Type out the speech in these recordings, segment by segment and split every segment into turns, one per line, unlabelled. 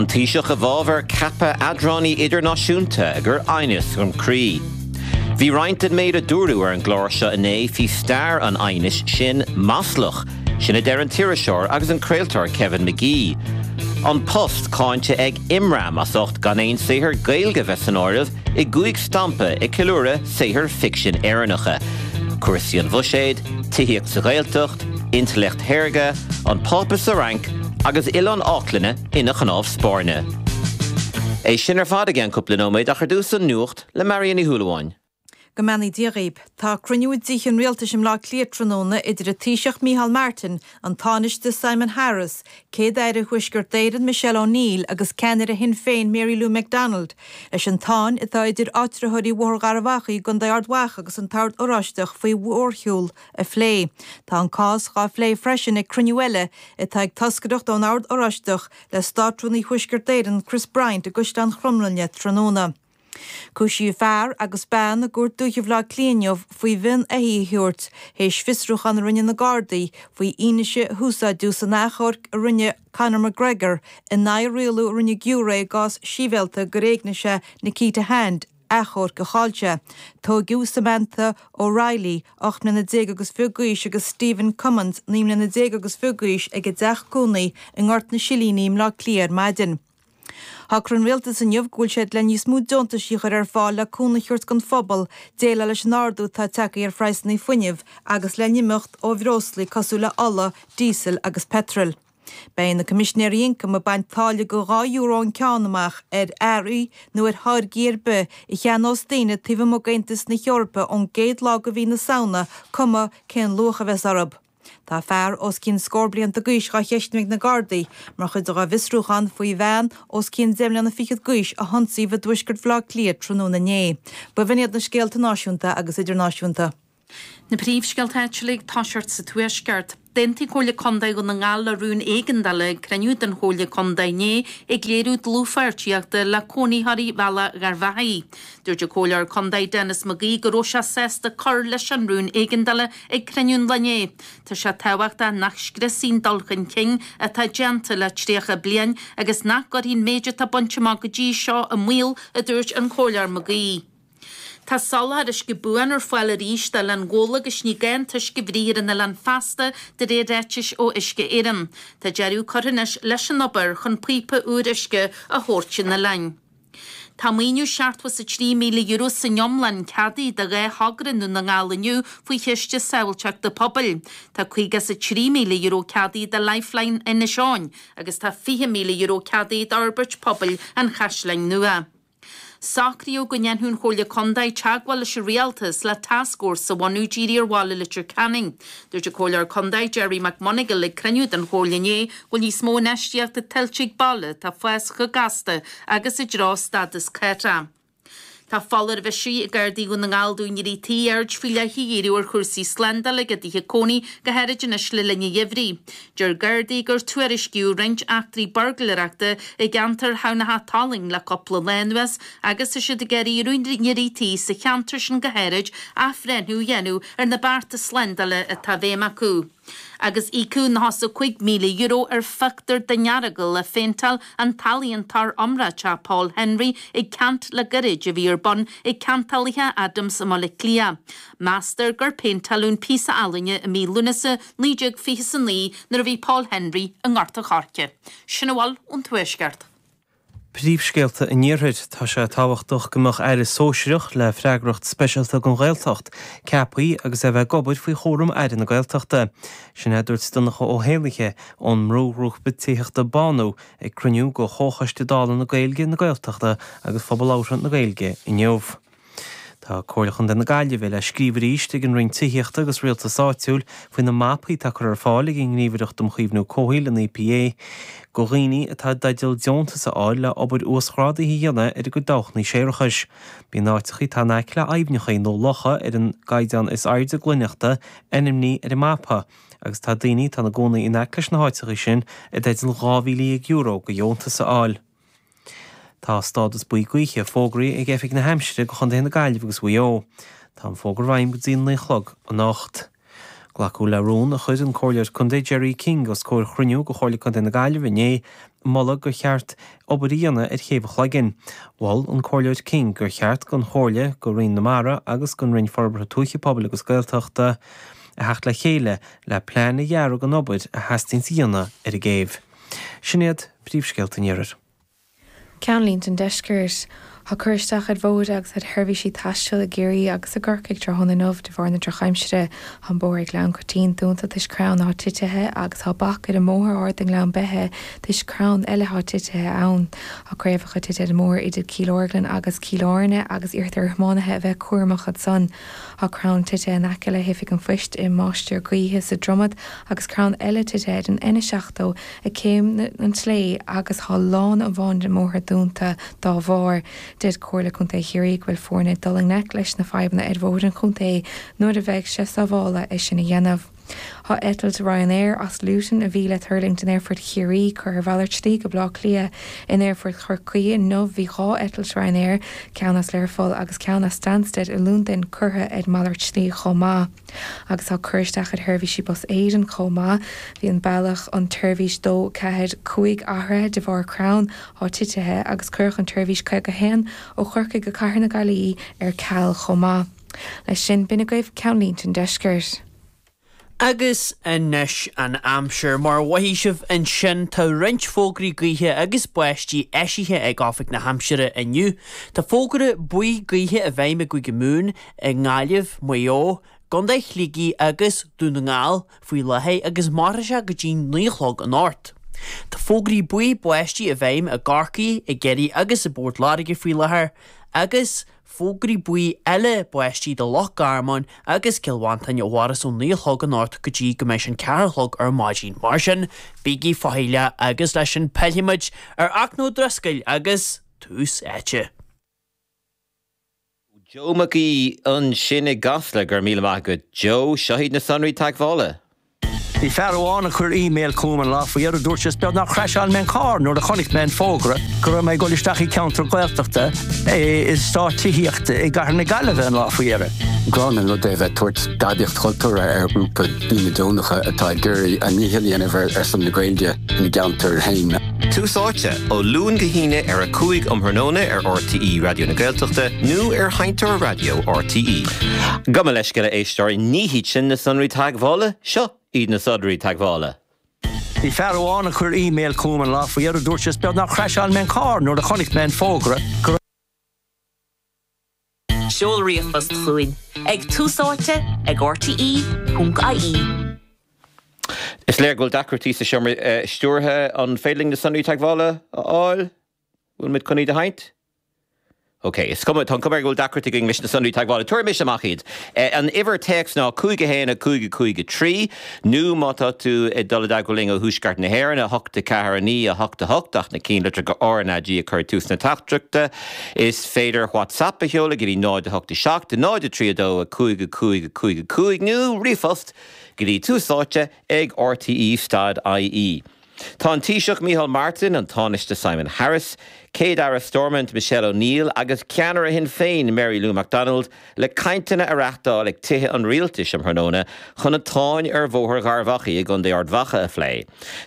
An Taoiseach i bhfabhar ceapadh eadránaí idirnáisiúnta ag cur aighneas chun croí. Bhí roinnt den méid a dúradh ar an gclár seo inné faoi stair an aighnis sin maslach, sin a deir an t-iriseoir agus an craoltóir Kevin Magee. An Post cáinte ag Imram as ucht gan aon saothar Gaeilge bheith san áireamh i gcúig stampa ag ceiliúradh saothair ficsin Éireannacha. Cúrsaí an bhuiséid, tithíocht sa Ghaeltacht, intleacht shaorga, an Pápa sa Fhrainc agus Oileán Fháclainne ina chnámh spairne. É sin ar fad i gceann cúpla nóiméad ach ar dtús an nuacht le Marion Ní Shúilleabháin.
Go mbeannaí Dia dhaoib. Tá cruinniú i dTithe an Rialtais i mBleá Cliath tráthnóna idir an Taoiseach Micheál Martin, an Tánaiste Simon Harris, Céad-Aire Thuaisceart Éireann Michelle O'Neill agus ceannaire Shinn Féin Mary Lou McDonald leis an tsáinn atá idir áitritheoirí Bhóthar Gharbh Achaidh i gContae Ard Mhacha agus an tOrd Oráisteach faoi mhórshiúl a phlé. Tá an cás dhá phlé freisin ag cruinniú eile atá ag toscaireacht ón Ord Oráisteach le Státrúnaí Thuaisceart Éireann Chris Bryant i gCaisleán Chromghlinne tráthnóna. Cúisíodh fear agus bean i gCúirt Dúiche Bhaile Átha Cliath inniu faoi mhionn éithigh a thabhairt théis fiosrúchán a rinne na Gardaí faoi fhianaise a húsáideadh san achomharc a rinne Conor McGregor in aghaidh rialú a rinne giúiré i gcás sibhialta gur éignigh sé Nikita Hand, achomharc a chaill sé. Tóigeadh Samantha O'Reilly, 18 mbliana agus fiche d'aois agus Stephen Cummins, 19 mbliana agus fiche d'aois ag a dteach cónaí i nGort na Silíní i mBleá Cliath ar maidin. Shocraigh an Rialtas inniu go bhfuil siad le níos mó deontaisí a chur ar fáil le cúnamh a thabhairt don phobal déileáil leis an ardú atá tagtha ar phraghsanna fuinnimh agus le n-imeacht ó bhreoslaí cosúil le ola, díosal agus peitreal. Beidh na Coimisinéirí Ioncaim ag baint táille de €2 an ceann amach ar earraí nó ar tháirgí ar bith a cheannós daoine taobh amuigh d'Aontas na hEorpa ón gcéad lá de mhí na Samhna, cuma cén luach a bheas orthu. Tá fear os cionn scór blianta d'aois dhá cheistniú ag na Gardaí mar chuid dá bhfiosrúchán faoi bhean os cionn deich mbliana fichead d'aois a hionsaíodh i dtuaisceart Bhaile Átha Cliath tráthnóna inné. B'in iad na scéalta náisiúnta agus idirnáisiúnta.
Na príomhscéalta áitiúla ag toiseacht sa Tuaisceart. D'aontaigh Comhairle Contae Dhún na nGall le rún éigeandála ag cruinniú den Chomhairle Contae inné ag léiriú dlúthpháirtíochta le cónaitheoirí Bhealach Gharbhachaidh. Dúirt an Comhairleoir Contae Denis McGee go raibh sé sásta cur leis an rún éigeandála ag cruinniú an lae inné. Tá sé tábhachtach nach scriosfaí an dul chun cinn atá déanta le 30 bliain agus nach gcuirfí an méid atá bainte amach go dtí seo i mbaol, a dúirt an Comhairleoir McGee. Tá soláthar uisce buan ar fáil arís d'Oileán Ghabhla agus ní gá an t-uisce a bhruith ar an oileán feasta, de réir ráitis ó Uisce Éireann. Tá deireadh curtha anois leis an obair chun píopa úr uisce a thabhairt chun an oileáin. Tá maoiniú €73,000 san iomlán ceadaithe do dhá thogra i nDún na nGall inniu faoi Chiste Sábháilteachta Pobail. Tá €53,000 ceadaithe do Lifeline Inis Eoghain agus tá €20,000 ceadaithe d'Fhorbairt Pobail an Chaisleáin Nua. Socraíodh go ndéanfadh an Chomhairle Contae teagmháil leis an Rialtas le tascfhórsa a bhunú dírithe ar bhaile Leitir Ceanainn. Dúirt an Comhairleoir Contae Gerry McMonagall ag cruinniú den Chomhairle inné go bhfuil níos mó infheistíochta tuillte ag baile atá ag fás chomh gasta agus i dtreo stádas cathrach. Tá foláireamh eisithe ag Gardaí Dhún na nGall d'úinéirí tí aird faoi leith a dhíriú ar chúrsaí slándála ag a dtithe cónaí, go háirid anois le linn an gheimhridh. Deir Gardaí gur tuairiscíodh roinnt eachtraí buirgléireachta i gceantar Thamhnach Tolaing le cúpla lá anuas agus tá siad ag iarraidh ar úinéirí tí sa cheantar sin go háirid athbhreithniú a dhéanamh ar na bearta slándála atá i bhfeidhm acu. Agus íocadh €95,000 ar phictiúr den Earagail a phéinteáil an t-ealaíontóir iomráiteach Paul Henry ag ceant le gairid a bhí ar bun ag Ceantálaithe Adams i mBaile Átha Cliath. Meastar gur péinteáladh an píosa ealaíne i mí Lúnasa 1929 nuair a bhí Paul Henry i nGort an Choirce. Sin a bhfuil ón Tuaisceart.
Príomhscéalta an Iarthair, Tá sé tábhachtach go mbeadh Aire sóisearach le freagracht speisialta don Ghaeltacht ceaptha agus é a bheith ag obair faoi chúram Aire na Gaeltachta. Sin é a dúirt Donncha Ó hÉallaithe ón mbrúghrúpa tithíochta Bánú ag cruinniú de Chomhchoiste Dála na Gaeilge, na Gaeltachta agus Phobal Labhartha na Gaeilge inniu. Tá Comhairle Chontae na Gaillimhe le scríobh arís ag an Roinn Tithíochta agus Rialtais Áitiúil faoi na mapaí atá curtha ar fáil ag an nGníomhaireacht um Chaomhnú Comhshaoil, an EPA, do dhaoine atá i dteideal deontas a fháil le obair uasghrádaithe a dhéanamh ar a gcuid dabhchanna séarachais. Bíonn áiteacha atá in aice le aibhneacha nó locha ar an gcaighdeán is airde glaineachta ainmnithe ar an mapa agus tá daoine atá ina gcónaí in aice leis na háiteacha sin i dteideal €12,000 de dheontas a fháil. Tá stádas buí gaoithe fógraithe ag Oifig na hAimsire do chontaetha na Gaillimhe agus Mhaigh Eo. Tá an fógra i bhfeidhm go dtí an 9 a chlog anocht. Glacadh le rún a chuir an Comhairleoir Contae Gerry King os comhair chruinniú de Chomhairle Contae na Gaillimhe inné. Moladh gur cheart obair a dhéanamh ar Chéibh an Chloiginn. Mhol an Comhairleoir King gur cheart don Chomhairle, do Roinn na Mara agus don Roinn Forbartha Tuaithe, Pobail agus Gaeltachta a theacht le chéile le plean a dhearadh don obair a theastaíonns a dhéanamh ar an gcéibh. Sin iad príomhscéalta an Iarthair.
Ceannlínte an Deiscirt. Tá cur isteach ar bhóithre agus ar sheirbhísí taistil i gCiarraí agus i gCorcaigh tráthnóna inniu de bharr na drochaimsire. Tá an bóthar ag Gleann Coitín dúnta toisc crann atá titithe agus tá bac ar an mbóthar ard i nGleann Beithe toisc crann eile atá titithe ann. Tá craobhacha tite ar an mbóthar idir Cill Orglan agus Cill Airne agus iarrtar ar thiománaithe a bheith cúramach ansan. Tá crann titithe in aice le hOifig an Phoist i Mainistir Gaoithe sa Dromad agus crann eile titithe ar an N70 ag Céim an tSlé agus tá lána amháin den mbóthar dúnta dá bharr. Deir Comhairle Contae Chiarraí go bhfuil foirne ag dul i ngleic leis na fadhbanna ar bhóithre an chontae nuair a bheidh sé sábhála é sin a dhéanamh. Tá eitilt Ryanair as Luton a bhí le tuirlingt in Aerfort Chiarraí curtha ar mhalairt slí go Baile Átha Cliath. In Aerfort Chorcaí inniu bhí 2 eitilt Ryanair, ceann as Learpholl agus ceann as Stansted i Londain curtha ar malairt slí chomh maith. Agus tá cur isteach ar sheirbhísí Bus Éireann chomh maith. Bhí an bealach an tseirbhís 2, 4, 5 athraithe de bharr crann atá titithe agus cuireadh an tseirbhís 51 ó Chorcaigh go Cathair na Gaillimhe ar ceal chomh maith. Leis sin, b'in agaibh Ceannlínte an Deiscirt.
Agus anois an aimsir. Mar a mhothaigh sibh ansin, tá roinnt fógraí gaoithe agus báistí eisithe ag Oifig na hAimsire inniu. Tá fógra buí gaoithe i bhfeidhm i gCúige Mumhan, i nGaillimh, Maigh Eo, gContae Shligigh agus Dún na nGall faoi láthair agus mairfidh sé go dtí 9 a chlog anocht. Tá fógraí buí báistí i bhfeidhm i gCorcaigh, i gCiarraí agus i bPort Láirge faoi láthair agus fógraí buí eile báistí do Loch Garman agus Cill Mhantáin a mhairfeas ó 9 a chlog anocht go dtí go mbeidh sé an ceathrú a chlog ar maidin. Mar sin, bígí faichilleach agus leis sin pillfidh muid ar Fhachtna Ó Drisceoil agus Tús Áite.
Joe Mac Aoidh ansin i gCasla, go raibh míle maith agat Joe. Seo iad na sonraí teagmhála.
Bhí fear amháin a chuir email chugam an lá faoi dheireadh, dúirt sé is beag nár chraiseáil mé an carr nuair a chonaic mé an fógra go raibh mé ag dul isteach i gceantar Gaeltachta i eastát tithíochta i gcathair na Gaillimhe an lá faoi dheireadh.
Gránna an rud é a bheith ag tabhairt gadaíocht chultúrtha ar ghrúpa daoine deonacha atá ag iarraidh a ndícheall a dhéanamh ar son na Gaeilge ina gceantar féin.
Tús Áite, ó Luan go hAoine ar 5 um thráthnóna ar RTÉ Raidió na Gaeltachta nó ar Sheinnteoir Raidió RTÉ. Gabh mo leithscéal a éisteoirí, ní hiad sin na sonraí teagmhála, seo iad na sonraí teagmhála.
Bhí fear amháin a chuir email chugam an lá faoi dheireadh, dúirt sé is beag nár chraiseáil mé an carr nuair a chonaic mé an fógra go raibh.
Seol ríomhphost chugainn ag túsáite ag rte.ie.
Is léir go bhfuil deacrachtaí sa seomra stiúrtha. An féidir linn na sonraí teagmhála a fháil? Bhfuil muid chun iad a sheinnt? Ok, is cuma, tá an cuma air go bhfuil deacrachtaí againn leis na sonraí teagmhála. Tabharfaidh mise amach iad. An uimhir téacs ná 5 1 5 5 3, nó má tá tú ag dul i dteagmháil linn ó thuaisceart na hÉireann, 8 4 9 8 8, ach na cinnlitreacha RnaG a chur ag tús na teachtaireachta. Is féidir WhatsApp a sheoladh go dtí 0 8 7 0 3 2 5 5 5 5 nó ríomhphost go dtí tús áite ag rte stad ie. Tá an Taoiseach Micheál Martin, an Tánaiste Simon Harris, Céad-Aire Stormont Michelle O'Neill agus ceannaire Shinn Féin Mary Lou McDonald le cainteanna a reáchtáil ag Tithe an Rialtais um thráthnóna chun an tsáinn ar Bhóthar Gharbh Achaidh i gContae Ard Mhacha a phlé.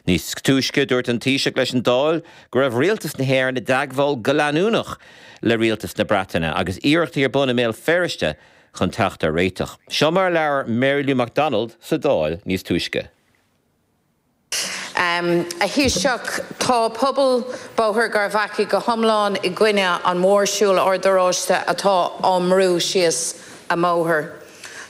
Níos túisce, dúirt an Taoiseach leis an Dáil go raibh rialtas na hÉireann i dteagmháil go leanúnach le rialtas na Breataine agus iarrachtaí ar bun i mBéal Feirste chun teacht ar réiteach. Seo mar a labhair Mary Lou McDonald sa Dáil níos túisce.
A Thaoiseach, tá pobal Bhóthar Gharbh Achaidh go hiomlán i gcoinne an mhórshiúil Ord Oráiste atá á mbrú síos a mbóthar.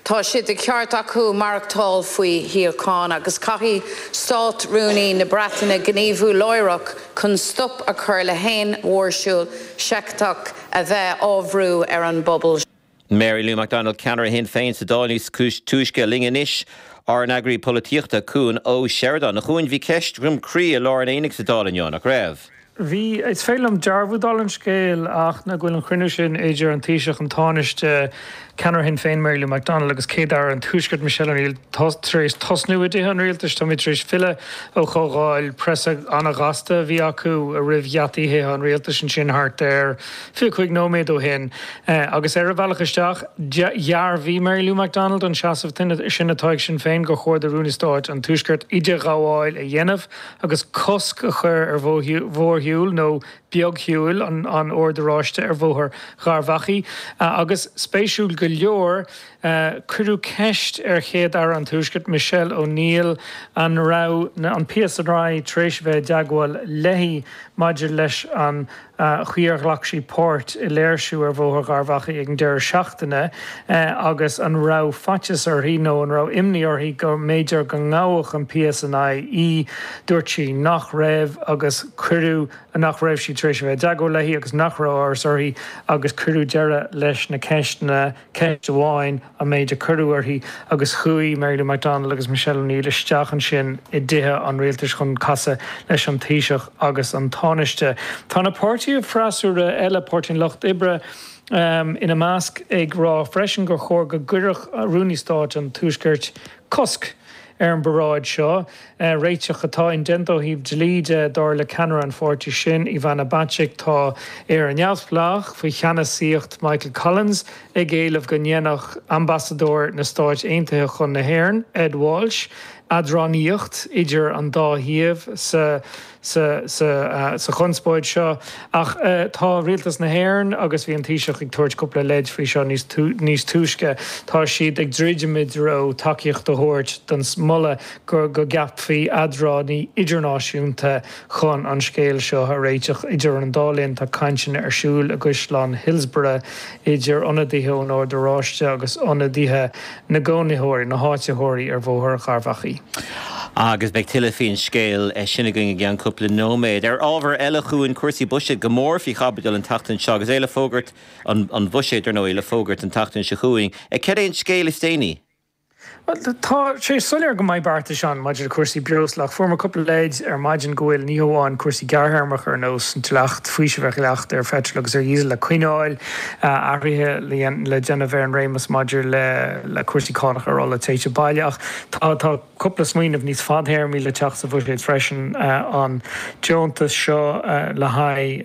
Tá sé de cheart acu maireachtáil faoi shíocháin agus caithfidh Stát-Rúnaí na Breataine gníomhú láithreach chun stop a chur le haon mhórshiúl seicteach a bheith á bhrú ar an bpobal.
Mary Lou McDonald, ceannaire Shinn Féin sa Dáil níos túisce. Linn anois ár n-eagraí polaitíochta, Cuan Ó Seireadáin. A Chuain, bhí ceist dhroim crí i lár an aonaigh sa Dáil inniu, nach raibh?
Bhí. Is féidir liom dearbhú dála an scéil ach ná go bhfuil an chruinniú sin idir an Taoiseach, an Tánaiste, Ceannaire Shinn Féin Mary Lou McDonald agus Céad-Aire an Tuaiscirt Michelle O'Neill tar éis tosnú i dTithe an Rialtais. Táimid tar éis filleadh ó chomhdháil preasa an-ghasta a bhí acu roimh gheataí Thithe an Rialtais ansin thart ar 25 nóiméad ó shin. Agus ar a bhealach isteach, dhearbhaigh Mary Lou McDonald an seasamh sin atá ag Sinn Féin gur chóir do Rúnaí Stáit an Tuaiscirt idirghabháil a dhéanamh agus cosc a chur ar mhórshiúl nó beagshiúil an Oird Oráiste ar Bhóthar Gharbhachaidh. Agus spéisiúil go leor, cuireadh ceist ar Chéad-Aire an Tuaiscirt, Michelle O'Neill, an raibh an PSNI tar éis a bheith i dteagmháil léi maidir leis an chaoi ar ghlac sí páirt i léirsiú ar Bhóthar Gharbhachaidh ag an deireadh seachtaine agus an raibh faitíos uirthi nó an raibh imní uirthi go mb'fhéidir go ngabhfadh an PSNI í. Dúirt sí nach raibh agus cuireadh, nach raibh sí tar éis a bheith i dteagmháil léi agus nach raibh amhras uirthi agus cuireadh deireadh leis na ceisteanna. Ceist amháin an méid a cuireadh uirthi agus chuaigh Mary Lou McDonald agus Michelle O'Neill isteach ansin i dTithe an Rialtais chun casadh leis an Taoiseach agus an Tánaiste. Tá na páirtithe freasúra eile, Páirtí an Lucht Oibre ina measc, ag rá freisin gur chóir go gcuirfeadh Rúnaí Stáit an Tuaiscirt cosc ar an bparáid seo, réiteach atá indéanta ó thaobh dlí de, dar le ceannaire an pháirtí sin, Ivana Bacik. Tá Éire Neamhspleách, faoi cheannasaíocht Michael Collins, ag éileamh go ndéanfadh ambasadóir na Stáit Aontaithe chun na hÉireann, Ed Walsh, eadránaíocht idir an dá thaobh sa sa chonspóid seo. Ach tá Rialtas na hÉireann, agus bhí an Taoiseach ag tabhairt cúpla leid faoi seo níos túisce, tá siad ag druidim i dtreo tacaíocht a thabhairt don moladh go gceapfaí eadránaí idirnáisiúnta chun an scéal seo a réiteach. Idir an dá linn tá cainteanna ar siúl i gCaisleán Hillsborough idir ionadaithe ón Ord Oráiste agus ionadaithe na gcónaitheoirí, na háititheoirí ar Bhóthar Gharbhachaidh.
Agus beidh tuilleadh faoin scéal sin againn i gceann cúpla nóiméad. Ar ábhar eile chugainn, cúrsaí buiséid go mór faoi chaibidil an tseachtain seo agus é le fógairt, an buiséad, ar ndóigh, le fógairt an tseachtain seo chugainn. Cad é an scéal is déanaí?
Bhuel, tá sé soiléir go mbeidh beartais ann maidir le cúrsaí breosla ach fuair muid cúpla leid ar maidin go bhfuil ní hamháin cúrsaí gearrthéarmacha ar nós an dleacht, faoiseamh ar dhleacht ar pheitreal agus ar dhíosal le coinneáil, athruithe le déanamh ar an réimeas maidir le cúrsaí cánach ar ola téite baile ach tá tá cúpla smaoineamh níos fadthéarmaí le teacht sa bhuiséad freisin, an deontas seo le haghaidh.